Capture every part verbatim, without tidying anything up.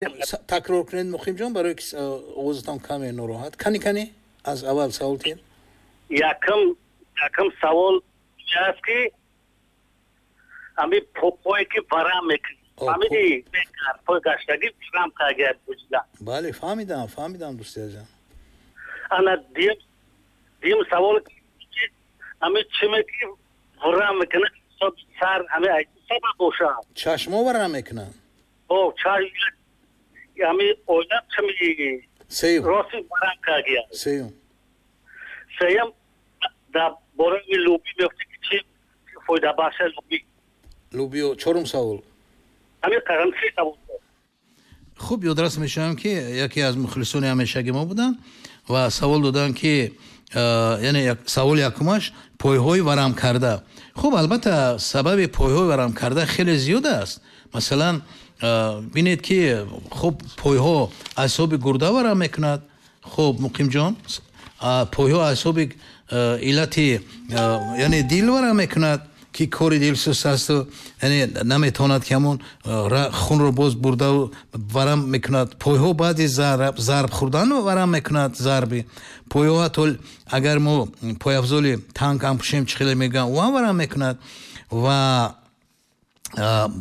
Такрор кунед, Муқимҷон, барое ки овозатон каме нороҳат. Кани, кани, аз аввал савол тиҳед. Якм якм савол аст, ки ҳами пое ки варам мекунад, фаҳмидӣ, пой гаштагӣ варам кагия буҷида. Бале, фаҳмидам, фаҳмидам, дӯсти азизам. Ана дим дим савол, ҳами чиме ки варам мекунад сар, ҳами сабаб бошад? Чашмо варам мекунанд? О, чашм, ҳами оила чими. Сеюм. Рости варам кагия. Сеюм. Сеюм, дар бораи лӯбӣ мегуфтӣ, ки чӣ фоидабахша лӯбӣ? Лӯбиё, чорум савол. Ҳамин қадам се савол. Хуб, ёдрас мешавам, ки яке аз мухлисони ҳамешаги мо буданд ва савол доданд, ки яъне саволи якумаш пойҳои варамкарда. Хуб, албатта, сабаби пойҳои варамкарда хеле зиёд аст. Масалан, бинед, ки хуб, пойҳо аз ҳисоби гурда варам мекунад. Хуб, Муқимҷон, пойҳо аз ҳисоби иллати, яъне дил варам мекунад, ки кори дил суст асту, яъне наметавонад, ки ҳамон хунро боз бурда, варам мекунад. Пойҳо баъди зарб хӯрдан варам мекунад, зарби пойҳо, ҳатто агар мо пойафзоли танк ҳам пӯшем, чӣ хеле мегӯям, ӯ ҳам варам мекунад. Ва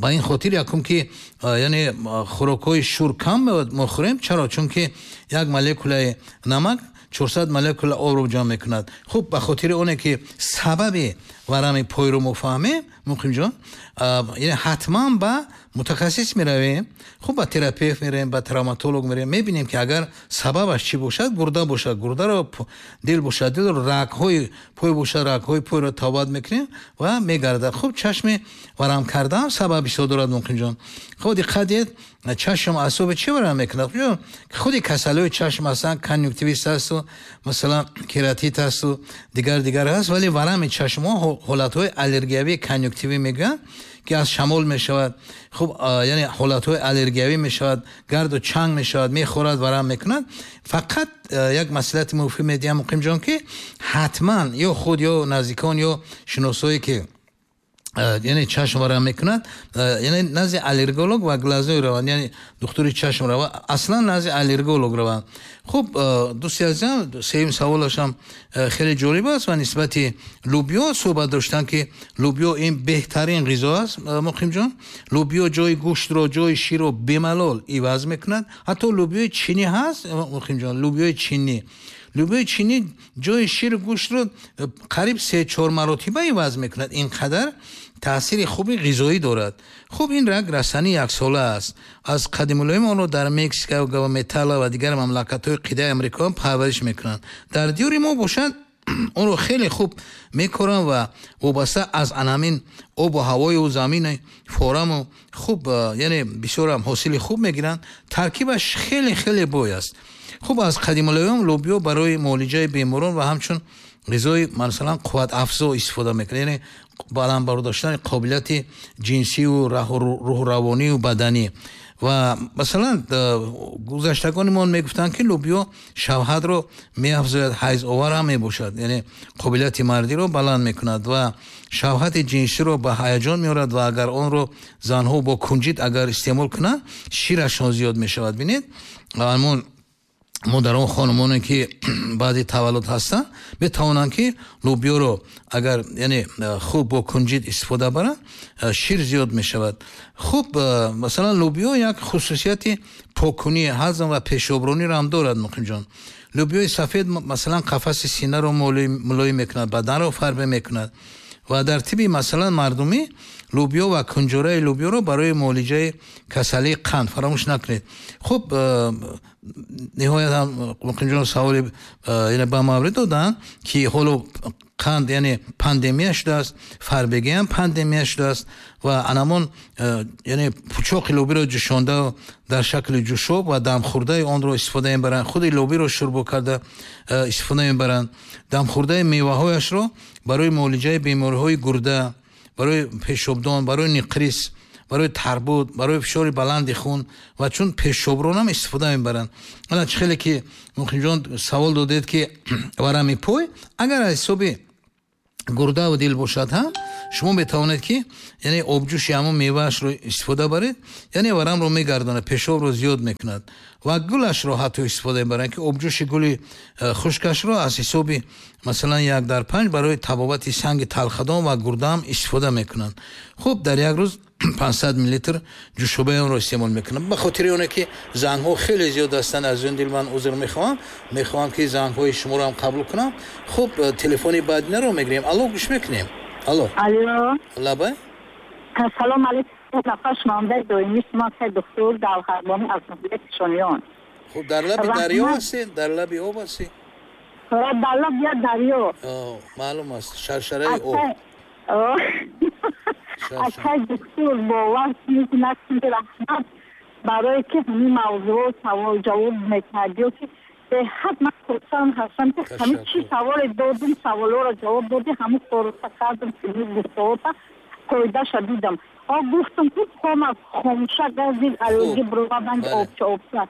ба ин хотир якум, ки яъне хӯрокҳои шур кам мо хӯрем. Чаро? Чунки як молекулаи намак чорсад молекула обро ҷамъ мекунад. Хуб, ба хотири оне ки сабаби варами пойро мо фаҳмем, Муқимҷон, яъне ҳатман ба мутахассис меравем. Хуб, ба терапевт меравем, ба травматолог меравем, мебинем, ки агар сабабаш чӣ бошад, гурда бошад гурдаро, дил бошад дилро, рагҳои пой бошад рагҳои пойро табобат мекунем ва мегардад. Хуб, чашми варам кардаам сабаб бисёр дорад, Муқимҷон. Хуб, диққат диҳед, чашм асоби чӣ варам мекунад? Худи касалиҳои чашм ҳастанд, конъюнктивит ҳасту, масалан, кератит ҳасту, дигар дигар ҳаст, вале варами чашмҳо ҳолатҳои аллергиявии конъюнктивӣ мегӯянд, ки аз шамол мешавад. Хуб, яъне ҳолатҳои аллергиявӣ мешавад, гарду чанг мешавад, мехӯрад, варам мекунад. Фақат як маслиҳати муфид медиҳам, Муқимҷон, ки ҳатман ё худ, ё наздикон, ё шиносое, ки яъне чашм варам мекунад, яъне назди аллерголог ва глазной раванд, яъне духтури чашм раванд, аслан назди аллерголог раванд. Хуб, дӯсти азизам, сеюм саволашам хеле ҷолиб аст ва нисбати лӯбиё суҳбат доштанд, ки лӯбиё ин беҳтарин ғизо аст, Муқимҷон. Лӯбиё ҷои гӯштро, ҷои ширро бемалол иваз мекунад. Ҳатто лӯбиёи чинӣ ҳаст, Муқимҷон, лӯбиёи чинӣ лӯбиёи чинӣ ҷои ширу гӯштро қариб се чор маротиба иваз мекунад, ин қадар таъсири хуби ғизоӣ дорад. Хуб, ин як растании яксола аст. Аз қадимулайём онро дар Мексика, Гватемала ва дигар мамлакатҳои қитъаи Амрико парвариш мекунанд. Дар диёри мо бошад, онро хеле хуб мекоранд ва вобаста аз анамин обу ҳавою замини фораму хуб, яъне бисёрам ҳосили хуб мегиранд. Таркибаш хеле хеле бой аст. Хуб, аз қадимулайём лӯбиё барои муолиҷаи беморон ва ҳамчун ғизои, масалан, қувватафзо истифода мекунад, яъне баланд бардоштани қобилияти ҷинсию рӯҳу равонию баданӣ. Ва масалан, гузаштагони мо мегуфтанд, ки лӯбиё шавҳатро меафзояд, ҳайзовар ҳам мебошад, яъне қобилияти мардиро баланд мекунад ва шавҳати ҷинсиро ба ҳаяҷон меорад. Ва агар онро занҳо бо кунҷит агар истеъмол кунанд, ширашон зиёд мешавад. Бинед, ҳамон модарон, хонумоне, ки баъди таваллуд ҳастанд, метавонанд, ки лӯбиёро агар, яъне, хуб бо кунҷит истифода баранд, шир зиёд мешавад. Хуб, масалан, лӯбиё як хусусияти покунии ҳазм ва пешоброниро ҳам дорад, Муқимҷон. Лӯбиёи сафед, масалан, қафаси синаро мулоим мекунад, баданро фарбе мекунад. Ва дар тибби, масалан, мардумӣ лӯбиё ва кунҷораи лӯбиёро барои муолиҷаи касалии қанд фаромӯш накунед. Хуб, ниҳоят ҳам, Муқимҷон, саволи яъне ба маврид доданд, ки ҳоло қанд, яъне, пандемия шудааст, фарбегӣ ҳам пандемия шудааст. Ва анамон, яъне, пучоқи лӯбиро ҷӯшонда дар шакли ҷӯшоб ва дамхӯрдаи онро истифода мебаранд, худи лӯбиро шӯрбо карда истифода мебаранд, дамхӯрдаи меваҳояшро барои муолиҷаи бемориҳои гурда, барои пешобдон, барои никрис, барои тарбуд, барои фишори баланди хун ва чун пешоброн ҳам истифода мебаранд. Ана чӣ хеле ки, Муқимҷон, савол додед, ки варами пой агар аз ҳисоби гурдаву дил бошад ҳам, Шумо метавонед ки яъне обҷӯши ҳамон меваашро истифода баред, яъне варамро мегардонад, пешобро зиёд мекунад ва гулашро ҳатто истифода мебаранд, ки обҷӯши гули хушкашро аз ҳисоби масалан як дар панҷ барои табобати санги талхадон ва гурдаам истифода мекунанд. Хуб, дар як рӯз панҷсад миллилитр ҷӯшобаи онро истеъмол мекунам. Ба хотири оне ки зангҳо хеле зиёд ҳастанд, аз ин дил ман узр мехоҳам, мехоҳам ки зангҳои шуморо ҳам қабул кунам. Хуб, телефони баъдинаро мегирем. Алло, гӯш мекунем. Алло. Алло. Лабай. Салом алейкум. Нафар шунавандаи доимӣ шумо ҳастед, доктор Давҳарбони аз ноҳияи Кишониён. Хуб, дар лаби дарё ҳастед? Дар лаби об ҳастед? Дар лаби як дарё. Маълум аст, шаршараи об. Акай доктор, бовар мекунад, раҳмат барое ки ҳамин мавзӯъ савол ҷавоб мекард, ё ки беҳад ман хурсанд ҳастам ки ҳамин чӣ саволе додум, саволҳоро ҷавоб додӣ, ҳамин корро кардам, гуфтаҳота қоидаша дидам. О, гуфтам ки хома хомӯша газид, аллергӣ бировардан обча обча.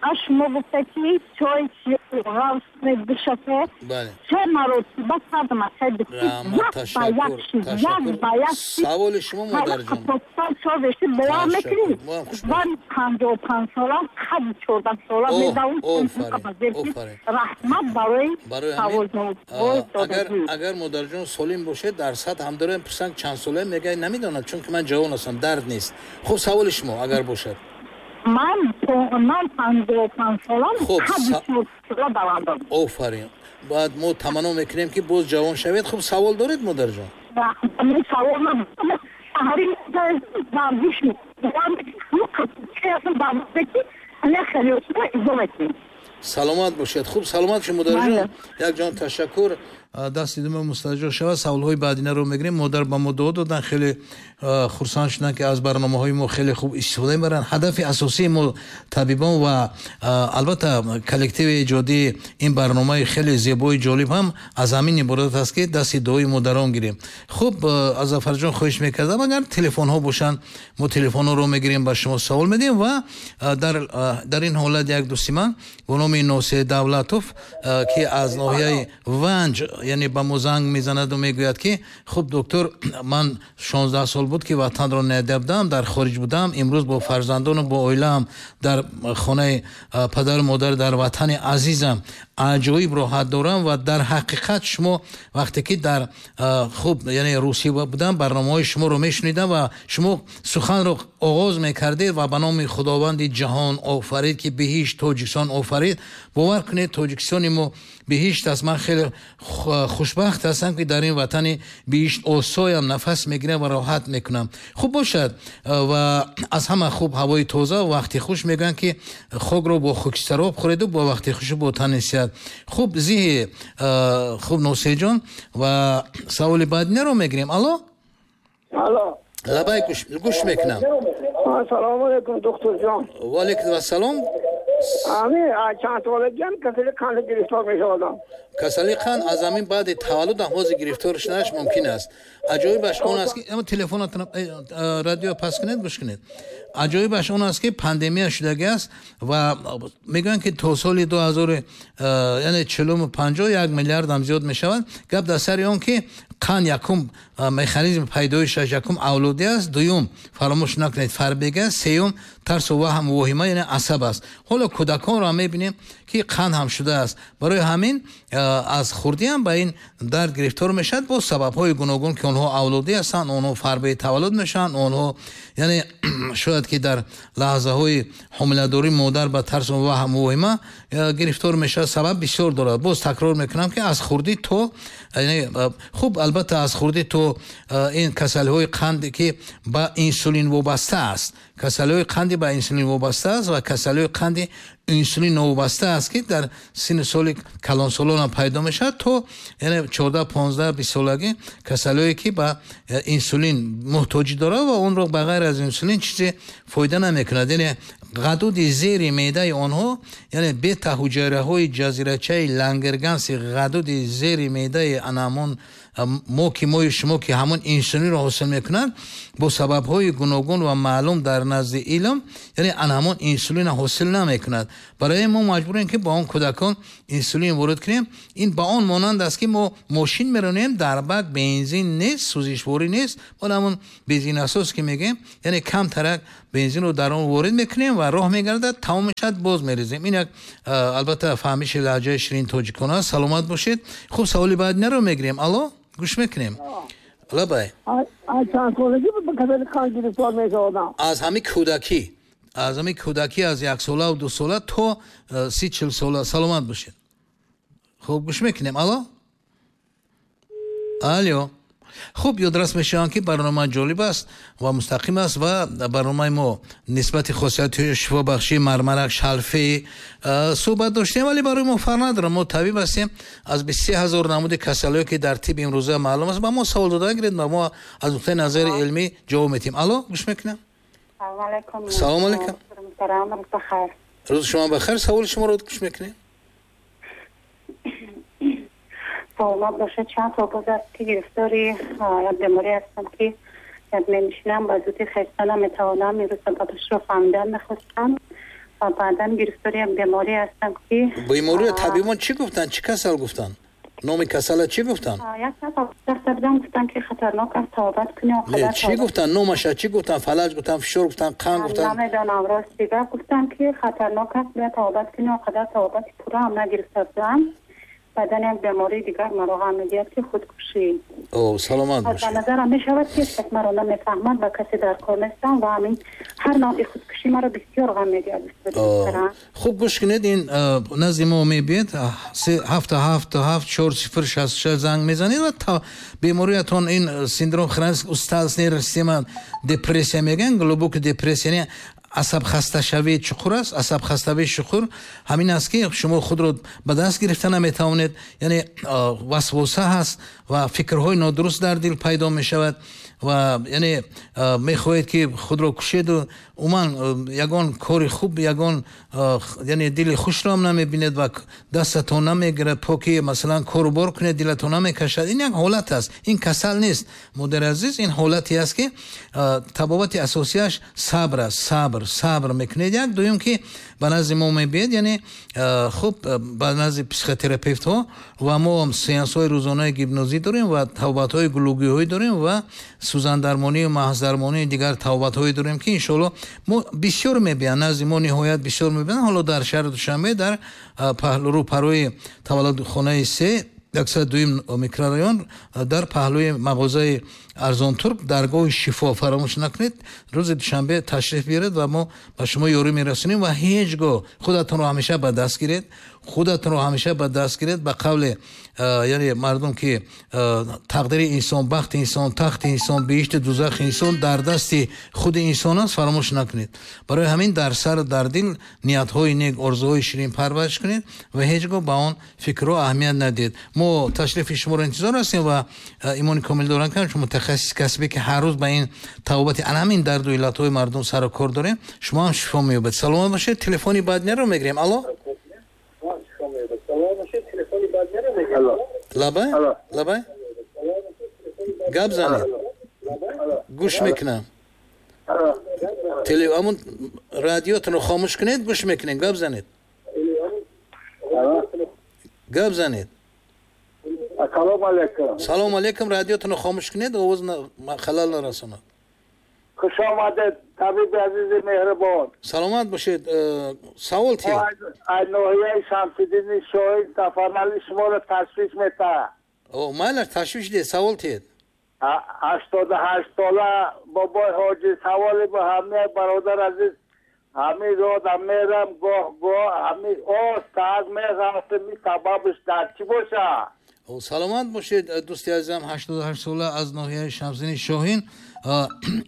А шумо гуфта ки чой ғафс душафе се маротиба кардам, акай доктор, як ба як шид, як ба як шид. Саволи шумо, модарҷон. Чой бовар мекунед? Ман панҷоҳу панҷ сола, қади чордаҳ сола медавам. Раҳмат барои савол ҷавоб. Агар модарҷон солим бошед, дар сад ҳам дорем пурсанд чанд сола, мегӯяд намедонам, чунки ман ҷавон ҳастам, дард нест. Хуб, саволи шумо агар бошад. Ман ман панҷоҳу панҷ солам, қади чордаҳ сола давандам. Офарин. Баъд мо таманно мекунем ки боз ҷавон шавед. Хуб, савол доред, модарҷон? Савол варзиш Саломат бошед. Хуб, саломат шумо, модарҷон. Як ҷон ташаккур. Дасти дума мустаҷо шавад. Саволҳои баъдинаро мегирем. Модар ба мо дуо доданд, хеле хурсанд шуданд ки аз барномаҳои мо хеле хуб истифода мебаранд. Ҳадафи асосии мо табибон ва албатта коллективи эҷодии ин барномаи хеле зебои ҷолиб ҳам аз ҳамин иборат аст ки дасти дуои модарон гирем. Хуб, аз Зафарҷон хоҳиш мекардам, агар телефонҳо бошанд, мо телефонҳоро мегирем, ба шумо савол медиҳем ва дар дар ин ҳолат як дӯсти ман бо номи Носир Давлатов ки аз ноҳияи Ванҷ яъне ба мо занг мезанаду мегӯяд ки хуб доктор, ман шонздаҳ сол буд ки ватанро надида будам, дар хориҷ будам, имрӯз бо фарзандону бо оилаам дар хонаи падару модар дар ватани азизам аҷоиб роҳат дорам ва дар ҳақиқат шумо вақте ки дар хуб яъне Русия будам, барномаҳои шуморо мешунидам ва шумо суханро оғоз мекардед ва ба номи Худованди ҷаҳон офарид ки биҳишт Тоҷикистон офарид. Бовар кунед, Тоҷикистони мо биҳишт аст. Ман хеле хушбахт ҳастам ки дар ин ватани биҳишт осоям нафас мегирам ва роҳат мекунам. Хуб бошад ва аз ҳама хуб ҳавои тоза ва вақти хуш. Мегӯянд ки хокро бо хокистароб хӯреду бо вақти хушу бо тани сиҳат. Хуб, зиҳи хуб, Носеҳҷон, ва саволи баъдинаро мегирем. Алло. Алло. Лабай, гӯш мекунам. Салому алейкум, докторҷон. Ва алейкум ассалом. Ами чанд солагиам касали қанд гирифтор мешавадам. Касали қанд аз ҳамин баъди таваллуд ҳам ҳозир гирифтор шуданаш мумкин аст. Аҷоибаш он аст ки телефонатон радио пас кунед, гӯш кунед. Аҷоибаш он аст ки пандемия шудагӣ аст ва мегӯянд ки то соли ду ҳазор яъне чилуму панҷоҳ як миллиард ҳам зиёд мешавад. Гап дар сари он ки қанд якум механизми пайдоишаш якум авлодӣ аст, дуюм фаромӯш накунед фарбег аст, сеюм тарсу ваҳм воҳима яъне асаб аст. Ҳоло кӯдаконро мебинем ки қанд ҳам шудааст. Барои ҳамин аз хурдӣ ҳам ба ин дард гирифтор мешавад бо сабабҳои гуногун ки онҳо авлодӣ ҳастанд, онҳо фарбеи таваллуд мешаванд, онҳо яъне шояд ки дар лаҳзаҳои ҳомиладорӣ модар ба тарсу ваҳм воҳима гирифтор мешавад. Сабаб бисёр дорад. Боз такрор мекунам ки аз хурдӣ то яъне хуб, албатта аз хурдӣ то ин касалиҳои қанде ки ба инсулин вобаста аст, касалиҳои қанди ба инсулин вобаста аст ва касалиҳои қанди инсулин новобаста аст ки дар синни соли калонсолон пайдо мешавад то яъне чордаҳ понздаҳ бист солагӣ касалиҳое ки ба инсулин муҳтоҷӣ дорад ва онро ба ғайр аз инсулин чизе фоида намекунад. Яъне ғадуди зери меъдаи онҳо, яъне бета ҳуҷайраҳои ҷазирачаи лангерганси ғадуди зери меъдаи анамон мо ки мои шумо ки ҳамон инсулинро ҳосил мекунад, бо сабабҳои гуногун ва маълум дар назди илм, яъне ан ҳамон инсулинро ҳосил намекунад. Барои мо маҷбурем ки ба он кӯдакон инсулин ворид кунем. Ин ба он монанд аст ки мо мошин меронем, дар бак бензин нест, сӯзишворӣ нест, мо ҳамон бензинасос ки мегӯем, яъне камтарак бензинро дар он ворид мекунем ва роҳ мегардад, тамом мешавад, боз мерезем. Ин як албатта фаҳмиши лаҳҷаи ширин тоҷикон аст. Саломат бошед. Хуб, саволи баъдинаро мегирем. Алло, гӯш мекунем. Лабай. Аз ҳамин кӯдакӣ, аз ҳамин кӯдакӣ, аз яксола ва дусола то си чил сола. Саломат бошед. Хуб, гӯш мекунем. Алло, алло. Хуб, ёдрас мешавам ки барнома ҷолиб аст ва мустақим аст ва барномаи мо нисбати хосиятҳои шифобахшии мармарак, шалфе суҳбат доштем, вале барои мо фарқ надорад. Мо табиб ҳастем. Аз бисту се ҳазор намуди касалиҳое ки дар тиб имрӯза маълум аст, ба мо савол дода гиред ва мо аз нуқтаи назари илмӣ ҷавоб медиҳем. Алло, гӯш мекунам. Салом алейкум. Рӯзи шумо бахайр. Саволи шуморо гӯш мекунем. Саломат бошед. Чанд сол боз аст ки гирифтори як беморӣ ҳастам ки як менишинам, ба зудӣ хеста наметавонам. Имрӯз сабабашро фаҳмидан мехостам ва баъдан гирифтори як беморӣ ҳастам ки бемориро табибон чӣ гуфтанд? Чӣ касал гуфтанд? Номи касала чӣ гуфтанд? Як дафта будам, гуфтанд ки хатарнок аст, табобат кунӣ. Не, чӣ гуфтанд? Номаша чӣ гуфтанд? Фалаҷ гуфтанд, фишор гуфтанд, қанд гуфтанд? Намедонам, рост дигар гуфтанд ки хатарнок аст, бояд табобат кунӣ. Он қадар табобати пурра ҳам нагирифта будам. Баъдан як бемории дигар маро ғам медиҳад ки худкушӣ. О, саломат бошед. Ба назарам мешавад ки ҳеҷ кас маро намефаҳмад ва касе дар кор нестам ва ҳамин ҳар навъи худкушӣ маро бисёр ғам медиҳад. Хуб, гӯш кунед, ин назди мо мебиед, ҳафт ҳафт ҳафт чор сифр шасту шаш занг мезанед ва бемориятон ин синдром хронический усталостной система депрессия мегӯянд, глубокая депрессия, асабхасташавии чуқур аст. Асабхаставии чуқур ҳамин аст ки шумо худро ба даст гирифта наметавонед, яъне васвоса ҳаст ва фикрҳои нодуруст дар дил пайдо мешавад ва яъне мехоҳед ки худро кушеду умуман ягон кори хуб, ягон яъне дили хушро ҳам намебинед ва дастатон намегирад поки масалан кору бор кунед, дилатон намекашад. Ин як ҳолат аст, ин касал нест, модари азиз. Ин ҳолате аст ки табобати асосияш сабр аст. Сабр, сабр мекунед. Як дуюм ки ба назди мо мебиед, яъне хуб, ба назди психотерапевтҳо ва мо сеансҳои рӯзонаи гипнозӣ дорем ва табобатҳои гулугиҳоӣ дорем ва сӯзандармонию маҳздармонии дигар табобатҳое дорем ки иншоалло мо бисёр мебиёнд назди мо, ниҳоят бисёр мебиёнд. Ҳоло дар шаҳри Душанбе дар рӯпарои таваллудхонаи се, яксад дуюм микрорайон, дар паҳлӯи мағозаи Арзонтурк, даргоҳи шифо, фаромӯш накунед, рӯзи душанбе ташриф биёред ва мо ба шумо ёрӣ мерасонем. Ва ҳеҷ гоҳ худатонро ҳамеша ба даст гиред, худатонро ҳамеша ба даст гиред. Ба қавле яъне мардум ки тақдири инсон, бахти инсон, тахти инсон, биҳишти дузахи инсон дар дасти худи инсон аст, фаромӯш накунед. Барои ҳамин дар сар, дар дил ниятҳои нек, орзуҳои ширин парвариш кунед ва ҳеҷ гоҳ ба он фикрҳо аҳамият надиҳед. Мо ташрифи шуморо интизор ҳастем ва имони комил дорам ки чун мутахассиси касбе ки ҳар рӯз ба ин табобати ана ҳамин дарду иллатҳои мардум сару кор дорем, шумо ҳам шифо меёбед. Саломат бошед. Телефони баъдинаро мегирем. Алло, лабай, лабай, гап занед, гӯш мекунам. Ҳамун радиотонро хомӯш кунед, гӯш мекунем. Гап занед, гап занед. Салом алейкум. Салом алейкум. Радиотонро хомӯш кунед, овоз халал нарасонад. Хуш омадед, табиби азизи меҳрибон. Саломат бошед. Савол тиед. Аз ноҳияи Шамсиддини Шоҳин Сафарали шуморо ташвиш метаҳад. О, майлаш, ташвиш диҳед, савол тиед. Ҳаштоду ҳашт сола бобои ҳоҷӣ, саволи ба ҳамаи бародар азиз, ҳамин рода мерам, гоҳ гоҳ ҳамин оз меғафтам, сабабаш дар чӣ бошад? Саломат бошед, дӯсти азизам, ҳаштоду ҳашт сола аз ноҳияи Шамсиддини Шоҳин.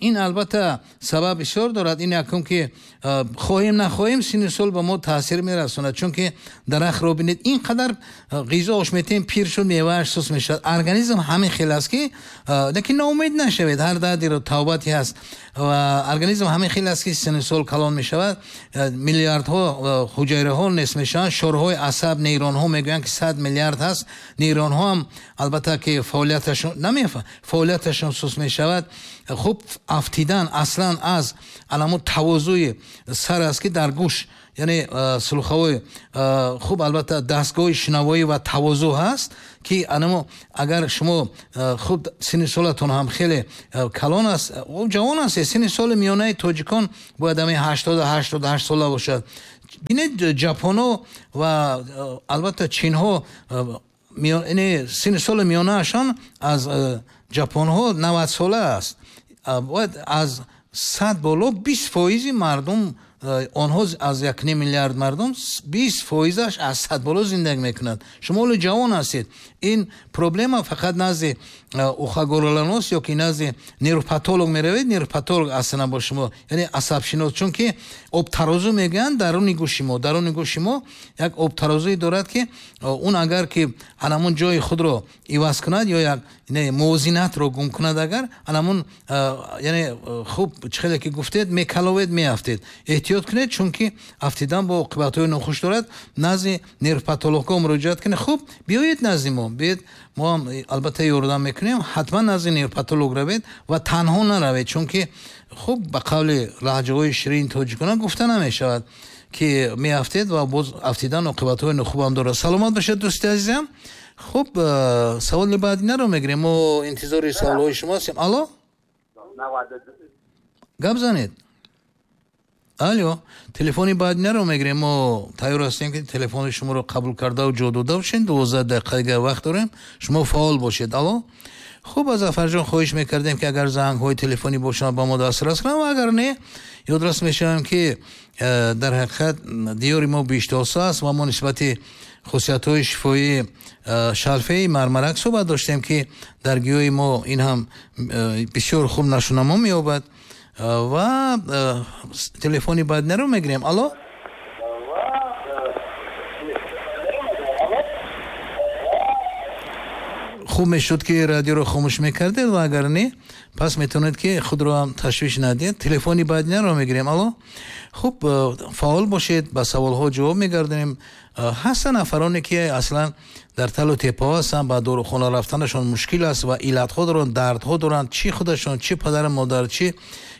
Ин албатта сабаб бисёр дорад. Ин якум ки хоҳем нахоҳем синну сол ба мо таъсир мерасонад, чунки дарахтро бинед, ин қадар ғизоаш метем, пир шуд, мевааш сус мешавад. Организм ҳамин хел аст ки, лекин ноумед нашавед, ҳар дардиро тавбате ҳаст ва организм ҳамин хел аст ки синну сол калон мешавад, миллиардҳо ҳуҷайраҳо нест мешаванд, шорҳои асаб, нейронҳо мегӯянд ки сад миллиард ҳаст, нейронҳо ҳам албатта ки фаъолияташон намефа фаъолияташон сус мешавад. Хуб, афтидан аслан аз аламу тавозуи сар аст ки дар гӯш, яъне сулхаҳои хуб, албатта дастгоҳи шунавоӣ ва тавозу ҳаст ки анамо агар шумо хуб синни солатон ҳам хеле калон аст, ҷавон ҳастед, синни соли миёнаи тоҷикон бояд ҳамин ҳаштоду ҳаштоду ҳашт сола бошад. Бинед, ҷапонҳо ва албатта чинҳо синни соли миёнаашон аз ҷапонҳо навад сола аст. Бояд аз сад боло бист фоизи мардум, онҳо аз як ним миллиард мардум бист фоизаш аз сад боло зиндагӣ мекунад. Шумо ҳоло ҷавон ҳастед. Ин проблема фақат назди ухогорлонос ё ки назди нейропатолог меравед, нейропатолог аслан бо шумо, яъне асабшинос, чунки обтарозу мегӯянд даруни гӯши мо, даруни гӯши мо як обтарозуе дорад ки он агар ки анамон ҷои худро иваз кунад ё як мувозинатро гум кунад, агар анамон яъне хуб чӣ хеле ки гуфтед, мекаловед, меафтед. Эҳтиёт кунед, чунки афтидан бо оқибатҳои нохуш дорад. Назди нейропатологҳо муроҷиат кунед. Хуб, биёед назди мо, биёед, мо ҳам албатта ёрдам мекунем. Ҳатман назди нейропатолог равед ва танҳо наравед, чунки хуб ба қавли лаҳҷаҳои ширини тоҷикона гуфта намешавад ки меафтед ва боз афтидан оқибатҳои нохубам дорад. Саломат бошед, дӯсти азизам. Хуб, саволи баъдинаро мегирем. Мо интизори саволҳои шумо ҳастем. Алло, гап занед. Алло, телефони баъдинаро мегирем. Мо тайёр ҳастем ки телефони шуморо қабул кардаву ҷо дода бошем. Дувоздаҳ дақиқа дигар вақт дорем, шумо фаъол бошед. Алло. Хуб, аз Зафарҷон хоҳиш мекардем ки агар зангҳои телефонӣ бошанд ба мо дастрас кунанд ва агар не, ёдрас мешавем ки дар ҳақиқат диёри мо биҳиштосо аст ва мо нисбати хусусиятҳои шифоии шалфеи мармарак суҳбат доштем ки дар гиёҳи мо ин ҳам бисёр хуб нашунамо меёбад. Ва телефони баъдинаро мегирем. Алло, хуб мешуд ки радиоро хомӯш мекардед ва агар не, пас метавонед ки худро ҳам ташвиш надиҳед. Телефони баъдинаро мегирем. Алло, хуб, фаъол бошед, ба саволҳо ҷавоб мегардонем. Ҳастанд нафароне ки аслан дар талу тепаҳо ҳастанд, ба дорухона рафтанашон мушкил аст ва иллатҳо доранд, дардҳо доранд, чӣ худашон, чӣ падару модар, чӣ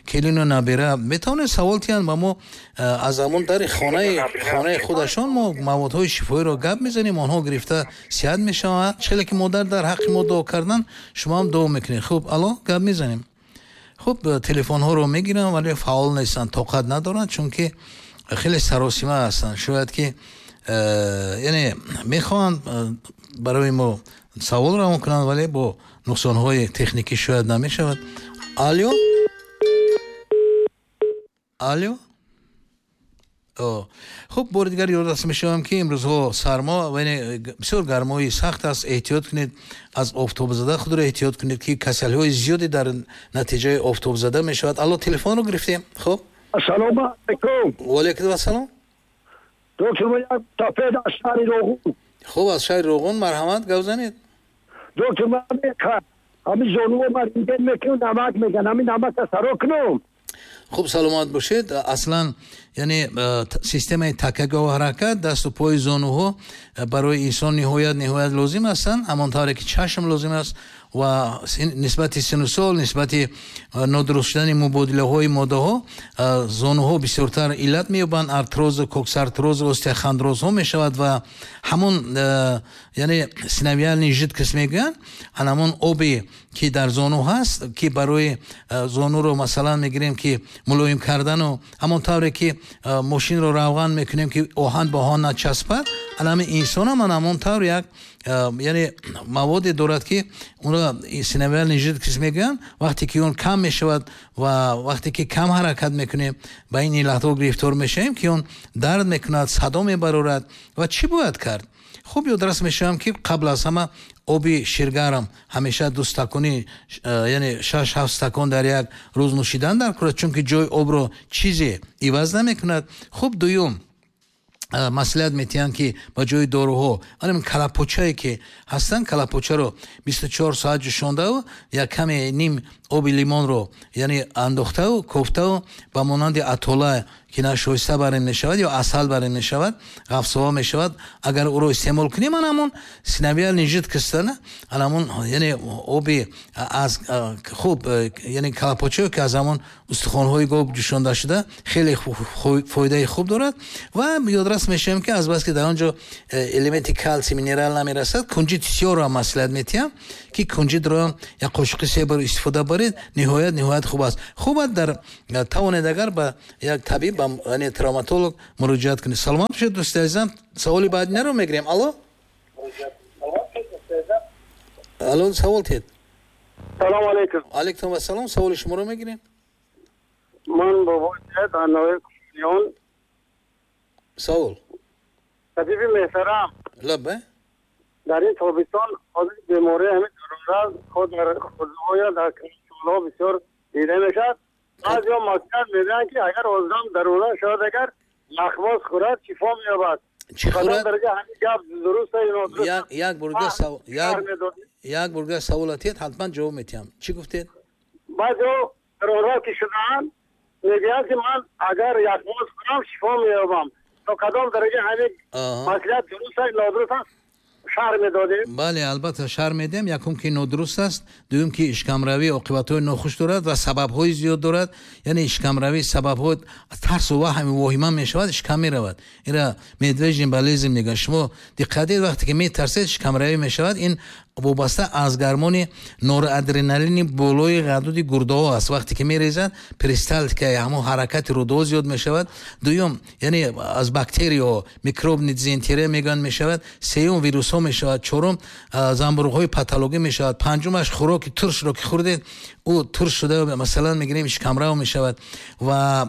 келину набира. Метавонед савол диҳанд ба мо, аз ҳамон дари хонаи хонаи худашон мо маводҳои шифоиро гап мезанем, онҳо гирифта сиҳат мешаванд. Чӣ ки модар дар ҳаққи мо дуо кардан, шумо ҳам дуо мекунед. Хуб, алло, гап мезанем. Хуб, телефонҳоро мегирам, вале фаъол нестанд, тоқат надоранд, чунки хеле саросима ҳастанд. Шояд ки яъне мехоҳанд барои мо савол равон кунанд, вале бо нуқсонҳои техникӣ шояд намешавад. Алло, алло. Хуб, бори дигар ёдрас мешавам ки имрӯзҳо сармо ва бисёр гармои сахт аст. Эҳтиёт кунед аз офтобзада, худро эҳтиёт кунед ки касалиҳои зиёде дар натиҷаи офтобзада мешавад. Алло, телефонро гирифтем. Хуб, ассалому алайкум. Ва алайкум ассалом. Доктор, ман Тофед аз шаҳри Роғун. Хуб, аз шаҳри Роғун, марҳамат, гап занед. Доктор, ман ҳамин зонуро ман рентген мекунам, намак меган, ҳамин намакро саро кунам. Хуб, саломат бошед. Аслан яъне системаи такягоҳу ҳаракат, дасту пои зонуҳо барои инсон ниҳоят ниҳоят лозим ҳастанд, ҳамон тавре ки чашм лозим аст ва нисбати сину сол, нисбати нодуруст шудани мубодилаҳои моддаҳо зонуҳо бисёртар иллат меёбанд. Артрозу, коксартрозу, остеохондрозҳо мешавад ва ҳамон яъне синовиальный жидкость мегӯянд, ҳамон обе ки дар зону ҳаст, ки барои зонуро масалан мегирем ки мулоим кардану ҳамон тавре ки мошинро равған мекунем ки оҳан ба оҳан начаспад, ҳамин инсон ҳам ҳамон тавр як яъне маводе дорад ки онро синовиальный жидкость мегӯянд. Вақте ки он кам мешавад ва вақте ки кам ҳаракат мекунем, ба ин иллатҳо гирифтор мешавем ки он дард мекунад, садо мебарорад. Ва чӣ бояд кард? Хуб, ёдрас мешавам ки қабл аз ҳама Оби ширгарм ҳамеша ду стакони, яъне шаш ҳафт стакон дар як рӯз нӯшидан дар кор, чунки ҷои обро чизе иваз намекунад. Хуб, дуюм маслиҳат метиҳанд, ки ба ҷои доруҳо анам калапочае ки ҳастанд, калапочаро бисту чор соат ҷӯшондаву як каме ним оби лимонро яъне андохтаву кофтаву ба монанди атола ки нашоиста барем мешавад ё асал барем мешавад, ғафсова мешавад, агар ӯро истеъмол кунем, анамон синовиальный жидкость, анамон яъне оби аз хуб, яъне калапочае ки аз ҳамон устухонҳои гов ҷӯшонда шуда, хеле фоидаи хуб дорад. Ва ёдрас мешавем, ки азбаски дар он ҷо элементи калсий, минерал намерасад, кунҷид сиёрро ҳам маслиҳат метиҳам, ки кунҷидро як қошуқи се бор истифода баред, ниҳоят ниҳоят хуб аст. Хуб аст, дар тавонед агар ба як табиб, ба яъне травматолог муроҷиат кунед. Саломат бошед, дӯсти азизам. Саволи баъдинаро мегирем. Алло, алло, савол тед. Салом алейкум. Алейкум ассалом. Саволи шуморо мегирем. Ман бобои Саид аз ноҳияи Кӯшониён. Савол. Табиби меҳтарам, лаббай. Дар ин тобистон ҳозир бемории ҳамин дарунра худ дар хурдҳоя, дар калонсолҳо бисёр дида мешавад. Баъзеҳо маслиҳат медиҳанд, ки агар одам дарура шавад, агар яхмоз хӯрад, шифо меёбад. Чӣ хӯрад? Дараҷа ҳамин гап дуруст ё нодуруст? Як як бурга савол, як як бурга савол атед, ҳатман ҷавоб метиҳам. Чӣ гуфтед? Баъзеҳо дарура ки шудаанд, мегӯянд, ки ман агар яхмоз хӯрам, шифо меёбам. То кадом дараҷа ҳамин маслиҳат дуруст аст, нодуруст аст, шарҳ медодем? Бале, албатта шарҳ медиҳем. Якум ки нодуруст аст, дуюм ки ишкамравӣ оқибатҳои нохуш дорад ва сабабҳои зиёд дорад. Яъне ишкамравӣ сабабҳо тарсу ваҳми воҳима мешавад, ишкам меравад. Инра медвежий болезнь мегӯянд. Шумо диққат диҳед, вақте ки метарсед, ишкамравӣ мешавад. Ин вобаста аз гармони норадреналини болои ғадуди гурдаҳо аст. Вақте ки мерезад, перисталтикаи ҳамон ҳаракати рӯдаҳо зиёд мешавад. Дуюм, яъне аз бактерияҳо, микробни дизентерия мегӯянд, мешавад. Сеюм, вирусҳо мешавад. Чорум, занбуруғҳои патологӣ мешавад. Панҷумаш, хӯроки туршро ки хӯрдед, ӯ турш шуда, масалан мегирем, шикамрав мешавад. Ва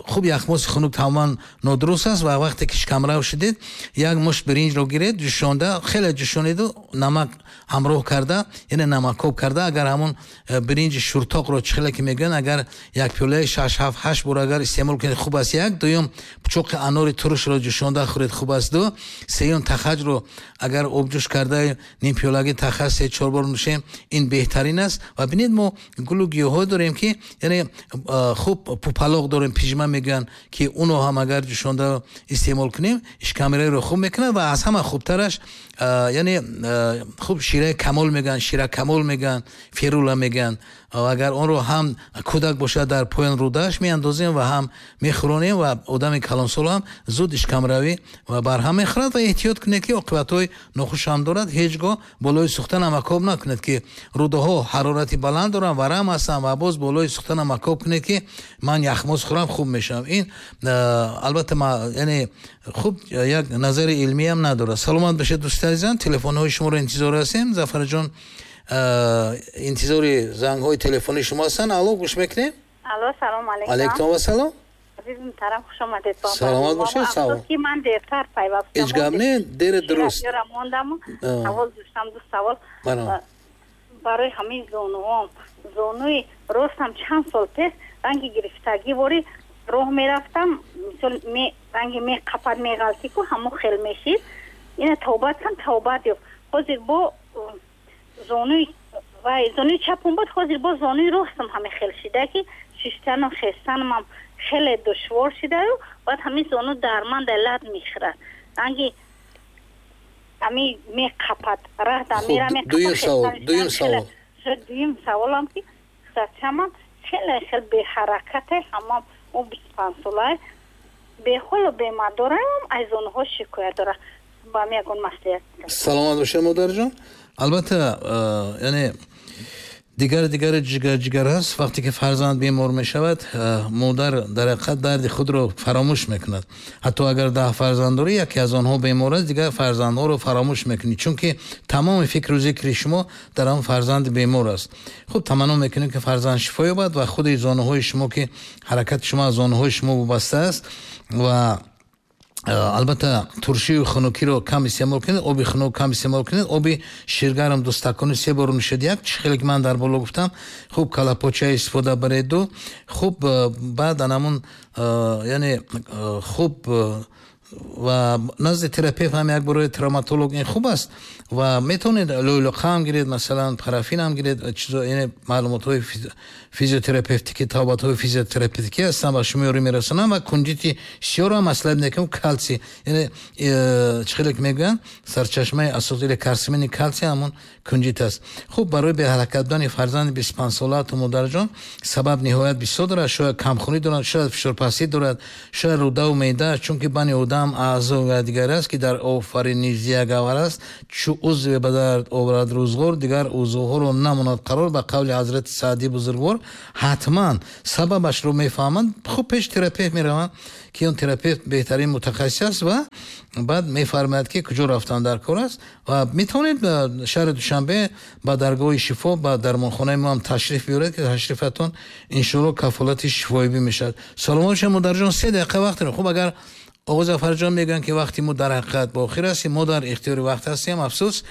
хуб, яхмози хунук тамоман нодуруст аст. Ва вақте ки шикамрав шудед, як мушт биринҷро гиред, ҷӯшонда, хеле ҷӯшониду намак ҳамроҳ карда, яъне намакоб карда, агар ҳамон биринҷи шуртоқро, чӣ хеле ки мегӯянд, агар як пиёлаи шаш ҳафт ҳашт бор агар истеъмол кунед, хуб аст. Як. Дуюм, пучоқи анори турушро ҷӯшонда хӯред, хуб аст. Ду. Сеюм, тахаҷро агар обҷӯш карда ним пиёлаги тахаҷ се чор бор нӯшем, ин беҳтарин аст. Ва бинед, мо гулу гиёҳҳо дорем, ки яъне хуб пупалоқ дорем, пижма мегӯянд, ки уно ҳам агар ҷӯшонда истеъмол кунем, ишкамираро хуб мекунад. Ва аз ҳама хубтараш, яъне хуб шираи камол мегӯянд, шира камол мегӯянд, ферула мегӯянд. Агар онро ҳам кӯдак бошад, дар поён рӯдааш меандозем ва ҳам мехӯронем, ва одами калонсол ҳам зуд ишкамравӣ ва барҳам мехӯрад. Ва эҳтиёт кунед, ки оқибатҳои нохуш ҳам дорад. Ҳеҷ гоҳ болои сӯхта намакоб накунед, ки рӯдаҳо ҳарорати баланд доранд, варам ҳастанд, ва боз болои сӯхта намакоб кунед, ки ман яхмоз хӯрам, хуб мешавам. Ин албатта яъне хуб як назари илмӣ ҳам надорад. Саломат бошед, дӯсти азизам. Телефонҳои шуморо интизор ҳастем. Зафарҷон, интизори зангҳои телефонии шумо ҳастанд. Алло, гӯш мекунем. Алло, салом алейкум. Алейкум вассалом. Азиз муҳтарам, хуш омадед. Саломат бошед. Салом. Афсӯс, ки ман дертар пайвастам. Ҳеҷ гап не, дер дуруст. Ёра мондам, савол доштам, ду савол. Барои ҳамин зонуҳом. Зонуи ростам чанд сол пеш ранги гирифтагӣ вори роҳ мерафтам, мисол ранги меқапад, меғалтӣ ку ҳамон хел мешид. Ина тавбат кан, тавбат ёфт. Ҳозир бо зонуи вай зонуи чапум буд, ҳозир бо зонуи ростам ҳаме хел шида, ки шиштану хестанам хеле душвор шидаю, баъд ҳамин зону дар ман лат мехӯрад, ранги ҳами меқапад, раҳ да мера меқапад. Дуюм савол, дуюм савол. Дуюм саволам, ки писарчамам хеле хел беҳаракате, ҳамам ӯ бисту панҷ солае, беҳолу бемадораам, аз зонуҳо шикоят дорад. Ба ман ягон маслиҳат. Саломат бошед, модарҷон. Албатта, яъне дигар дигар ҷигар ҷигар аст. Вақте ки фарзанд бемор мешавад, модар дар ҳақиқат дарди худро фаромӯш мекунад. Ҳатто агар даҳ фарзанд дорӣ, яке аз онҳо бемор аст, дигар фарзандҳоро фаромӯш мекунӣ, чунки тамоми фикру зикри шумо дар он фарзанди бемор аст. Хуб, таманно мекунем, ки фарзанд шифо ёбад ва худи зонуҳои шумо, ки ҳаракати шумо аз зонуҳои шумо вобаста аст, ва Албатта, туршию хунукиро кам истеъмол кунед, оби хунук кам истеъмол кунед, оби ширгарм ду стакони се бор нӯшед, як чӣ хеле ки ман дар боло гуфтам, хуб калапоча истифода бареду, хуб баъд анамун, яъне хуб ва назди терапевт ҳам як бор, травматолог ин хуб аст ва метавонед лӯлуқа ҳам гиред, масалан парафин ҳам гиред, чизо, яъне маълумотҳои физиотерапевтикӣ, табобатҳои физиотерапевтикӣ ҳастанд ва шумо ёрӣ мерасонанд. Ва кунҷити сиёро ҳам маслиҳат мекунам, калсий, яъне чӣ хеле ки мегӯянд, сарчашмаи асосии карсимини калсий ҳамон кунҷит аст. Хуб, барои беҳаракат будани фарзанди бисту панҷсолаатон, модарҷон, сабаб ниҳоят бисёр дорад. Шояд камхунӣ дорад, шояд фишорпастӣ дорад, шояд рӯдаву меъда, чунки бани одам аъзо ва дигар аст, ки дар офариниш ягавар аст, чу узве ба дард оварад рӯзғор, дигар узвҳоро намонад қарор. Ба қавли ҳазрати Саъдии бузургвор, ҳатман сабабашро мефаҳманд. Хуб, пеш терапевт мераванд, ки он терапевт беҳтарин мутахассис аст ва баъд мефармояд, ки куҷо рафтан дар кор аст. Ва метавонед ба шаҳри Душанбе, ба даргоҳи шифо, ба дармонхонаи мо ҳам ташриф биёред, ки ташрифатон иншоалло кафолати шифоибӣ мешавад. Саломат бошед, модарҷон. Се дақиқа вақт дорем. Хуб, агар оғоз Зафарҷон мегӯянд, ки вақти мо дар ҳақиқат ба охир ҳастем, мо дар ихтиёри вақт ҳастем, афсӯс.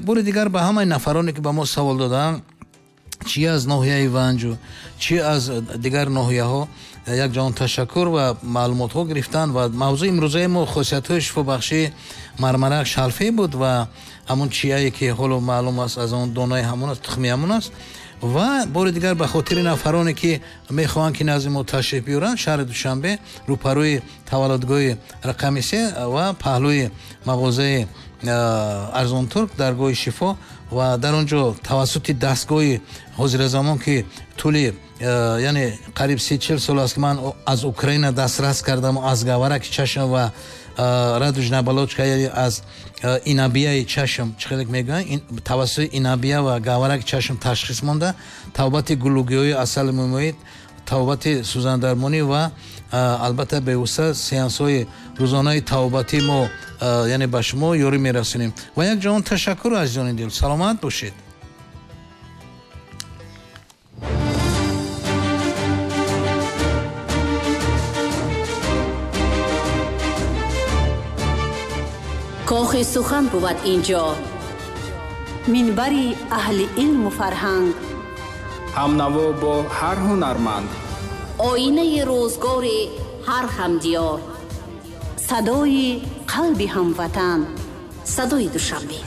Бори дигар ба ҳамаи нафароне, ки ба мо савол доданд, чӣ аз ноҳияи Ванҷу, чӣ аз дигар ноҳияҳо, як ҷаҳон ташаккур ва маълумотҳо гирифтанд. Ва мавзӯи имрӯзаи мо хосиятҳои шифобахшии мармарак шалфе буд ва ҳамон чияе, ки ҳоло маълум аст, аз он донаи ҳамон аст, тухми ҳамон аст. Ва бори дигар ба хотири нафароне, ки мехоҳанд, ки назди мо ташриф биёранд, шаҳри Душанбе, рӯпарӯи таваллудгоҳи рақами се ва паҳлӯи мағозаи Арзонтурк, даргоҳи шифо, ва дар он ҷо тавассути дастгоҳи ҳозиразамон, ки тӯли яъне қариб се чил сол аст, ки ман аз Украина дастрас кардам, аз гавараки чашм ва радужная оболочка, яъне аз инабияи чашм, чӣ хеле мегӯянд, тавассути инабия ва гавараки чашм ташхис монда, табобати гулугиҳои асали мумоид, табобати сӯзандармонӣ ва албатта бевосита сеансҳои рӯзонаи табобатӣ мо яъне ба шумо ёрӣ мерасонем. Ва як ҷаҳон ташаккур, азизони дил, саломат бошед. Кохи сухан бувад инҷо, минбари аҳли илму фарҳанг, ҳамнаво бо ҳар ҳунарманд, оинаи рӯзгори ҳар ҳамдиёр, садои қалби ҳамватан, садои Душанбе.